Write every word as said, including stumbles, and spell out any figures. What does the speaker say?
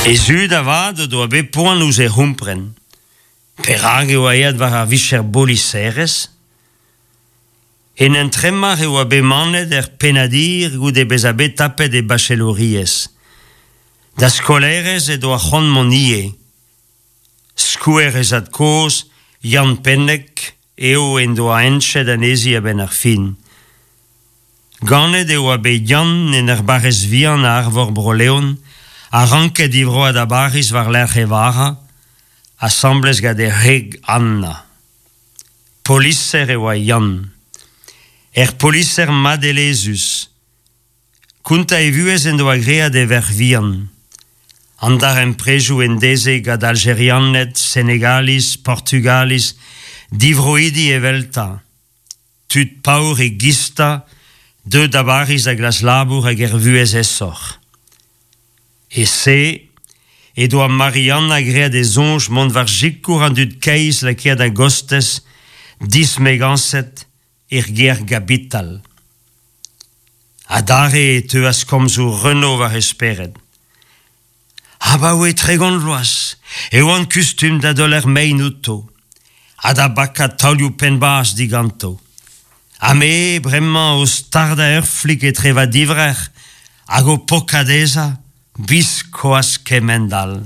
He zud avat o doa bet poan ouzh he c'hompren. Perak e oa aet war ar vicher boliserez? En entremar e oa bet manet er pennadir goude bezañ bet tapet e bachelouriezh. Da skolaerez he doa c'hoant mont ivez. Skouer he zad-kozh, Yann Penneg, eo en doa heñchet anezhi a-benn ar fin. Ganet e oa bet Yann en ur barrez vihan a arvor Bro-Leon, ha ranket divroañ da Bariz war-lerc'h e vara, asambles gant e wreg Anna. Poliser e oa Yann. Ur poliser madelezhus. Kontañ e vuhez en doa graet d'e verc'h vihan. An darempredoù en deze gant Aljerianed, Senegaliz, Portugaliz, divroidi eveltañ. Tud paour egistañ, deuet da Bariz da glask labour hag ur vuhez aesoc'h. E-se he doa Mari-Anna graet he soñj mont war sikour an dud keizh lakaet a-gostez, dismegañset, er gêr gapital. Adarre e teuas komzoù Renaud war he spered. Abaoe tregont vloaz e oan kustum da deuler mein outo, ha da bakañ taolioù penn-bazh diganto. Ha me bremañ o stardañ ur flik etre va divrec'h hag o pokañ dezhañ, biskoazh kemend-all.